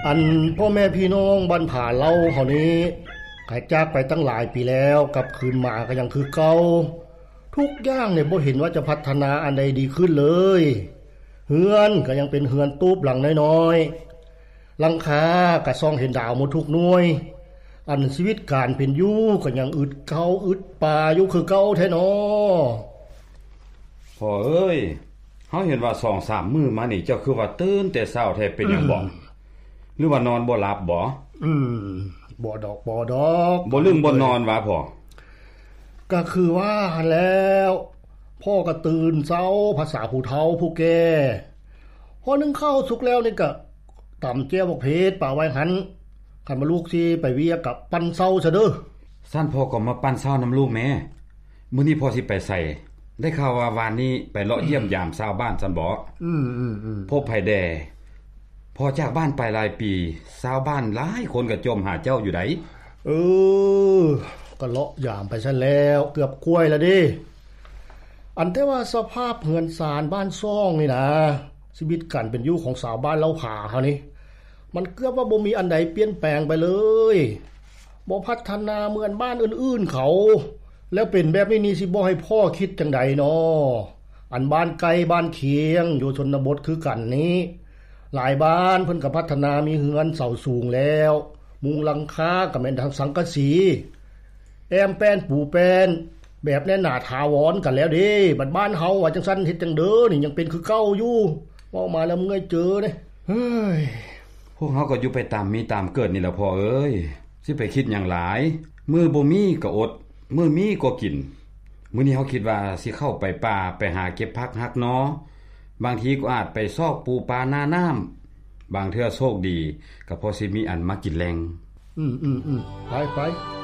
ອັນພໍ່ແມ່ພີ່ນ້ອງບ້ານຜາເລົ່າເຮົານີ້ ກະຈາກໄປຕັ້ງຫຼາຍປີແລ້ວ ກັບຄືນມາກະຍັງຄືເກົ່າ. ທຸກຢ່າງນີ້ບໍ່ເຫັນວ່າຈະພັດທະນາອັນໃດດີຂຶ້ນເລີຍ. ເຮືອນກະຍັງເປັນເຮືອນຕູບຫຼັງນ້ອຍໆ ຫຼັງຄາກະສ່ອງເຫັນດາວໝົດທຸກໜ່ວຍ. ອັນຊີວິດການເປັນຢູ່ກະຍັງອຶດເຂົ້າອຶດປາຢູ່ຄືເກົ່າແທ້ນໍ. ພໍ່ເອີຍ, ເຮົາເຫັນວ່າສອງສາມມື້ມານີ້ ເຈົ້າຄືວ່າຕື່ນແຕ່ເຊົ້າແທ້ ເປັນຫຍັງບໍ? ອືມ ຫຼືວ່ານອນບໍ່ຫຼັບບໍ? ອືມ ບໍ່ດອກ ບໍ່ດອກ ບໍ່ລຶ້ງບໍ່ນອນຫວາພໍ່? ກະຄືວ່າຫັ້ນແຫຼ້ວ, ພໍ່ກະຕື່ນເຊົ້າພາສາຜູ້ເຖົ້າຜູ້ແກ່. ພໍໜຶ້ງເຂົ້າສຸກແລ້ວນີ້ກະຕຳແຈ່ວບັກເຜັດປະໄວ້ຫັ້ນ. ຄັນວ່າລູກຊິໄປວຽກກະປັ່ນເຊົ້າຊະເດີ້. ຊັ້ນພໍ່ກະມາປັ່ນເຊົ້ານຳລູກແມ້. ມື້ນີ້ພໍ່ຊິໄປໃສ? ໄດ້ຂ່າວວ່າວານນີ້ໄປເລາະຢ້ຽມຢາມຊາວບ້ານຊັ້ນບໍ? ອືມໆໆ ພົບໃຜແດ່? ພໍ່ຈາກບ້ານໄປຫຼາຍປີ, ຊາວບ້ານຫຼາຍຄົນກະຈົ່ມຫາເຈົ້າຢູ່ໃດ໋. ເອີ ກະເລາະຢາມໄປຊັ້ນແລ້ວ, ເກືອບກວຍລະເດ້. ອັນແຕ່ວ່າສະພາບເຮືອນຊານບ້ານຊ່ອງນີ້ນາ, ຊີວິດການເປັນຢູ່ຂອງຊາວບ້ານເລົ່າຜາເຮົານີ້ ມັນເກືອບວ່າບໍ່ມີອັນໃດປ່ຽນແປງໄປເລີຍ, ບໍ່ພັດທະນາເໝືອນບ້ານອື່ນໆເຂົາ. ແລ້ວເປັນແບບນີ້ນີ້ ຊິບໍ່ໃຫ້ພໍ່ຄິດຈັ່ງໃດນໍ? ອັນບ້ານໃກ້ບ້ານຄຽງຢູ່ຊົນນະບົດຄືກັນນີ້ ຫຼາຍບ້ານເພິ່ນກະພັດທະນາມີເຮືອນເສົາສູງແລ້ວ, ມຸງຫຼັງຄາກະແມ່ນທັງສັງກະສີ ແອ້ມແປ້ນປູແປ້ນ ແບບແໜ້ນໜາຖາວອນກັນແລ້ວເດ້. ບັດບ້ານເຮົາວ່າຈັ່ງຊັ້ນ ເຮັດຈັ່ງເດີນີ້ ຍັງເປັນຄືເກົ່າຢູ່. ເວົ້າມາແລ້ວເມື່ອຍເຈີເດ້. ເຮີ້ຍ ພວກເຮົາກະຢູ່ໄປຕາມມີຕາມເກີດນີ້ແຫຼະພໍ່ເອີຍ, ຊິໄປຄິດຫຍັງຫຼາຍ. ມື້ບໍ່ມີກະອົດ, ມື້ມີກະກິນ. ມື້ນີ້ເຮົາຄິດວ່າຊິເຂົ້າໄປປ່າ ໄປຫາເກັບຜັກຫັກໜໍ່, ບາງທີກະອາດໄປຊອກປູປາໜ້ານ້ຳ. ບາງເທື່ອໂຊກດີກະພໍຊິມີອັນມາກິນແລງ. ອືມໆໆ ໄປໆ.